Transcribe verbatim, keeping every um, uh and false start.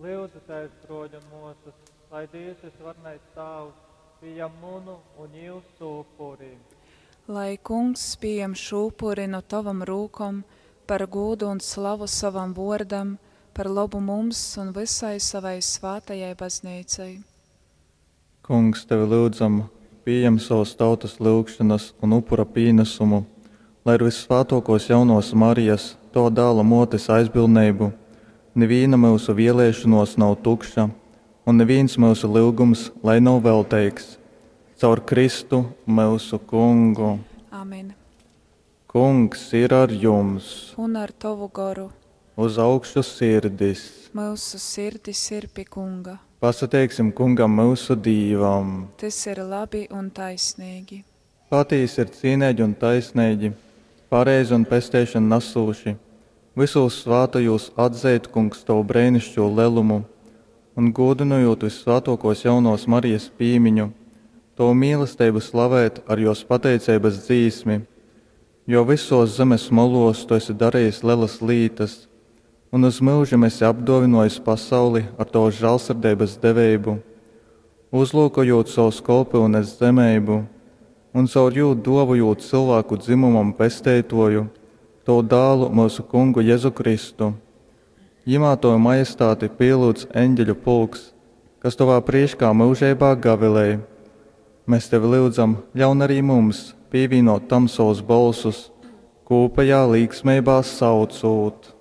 Lyudzitēs, bruoļi un muosys, lai Dīvs Vysvarenais Tāvs pījam munu un jūsu upuri. Lai Kungs pījam šū upuri nu tovom rūkom par gūdu un slavu sovam vuordam, par lobu mums un vysai sovai svātajai Bazneicai. Kungs, tevi lyudzam, pījem sovas tautas lyugšonas un upura pīnasumu, lai ar vyssvātōkōs jaunovas Marijas, tova Dāla mōtes aizbildneibu nivīna myusu vēlēšonōs nav tukša un nivīns myusu lyugums lai nav velteigs. Caur Kristu, myusu Kungu. Amen. Kungs ir ar jums! Un ar tovu goru. Uz augšu sirdis! Myusu sirdis ir pi Kunga. Pasateiksim Kungam myusu Dīvam! Tys ir labi un taisneigi. Patīsi ir cīneigi un taisneigi, pareizi un pesteišonu nasūši vysūs svātajūs atzeit, Kungs, tovu breiniškū lelumu un, gūdynojūt vyssvātōkōs jaunovas Marijas pīmiņu, tovu mīlesteibu slavēt ar jōs pateiceibas dzīsmi. Jo vysōs zemes molōs tu esi darejis lelas lītas un uz myužim esi apdōvynōjis pasauli ar tovas žālsirdeibas deveibu, uzlyukojūt sovas kolpyunes zemeibu un caur jū dōvojūt cylvāku dzymumam Pesteitōju, tovu Dālu, myusu Kungu Jezu Kristu. Jymā tovu majestāti pīlyudz eņgeļu pulks, kas tovā prīškā myužeibā gavilej. Mes tevi lyudzam, ļaun arī mums pīvīnōt tam sovus bolsus, kūpejā līksmeibā saucūt.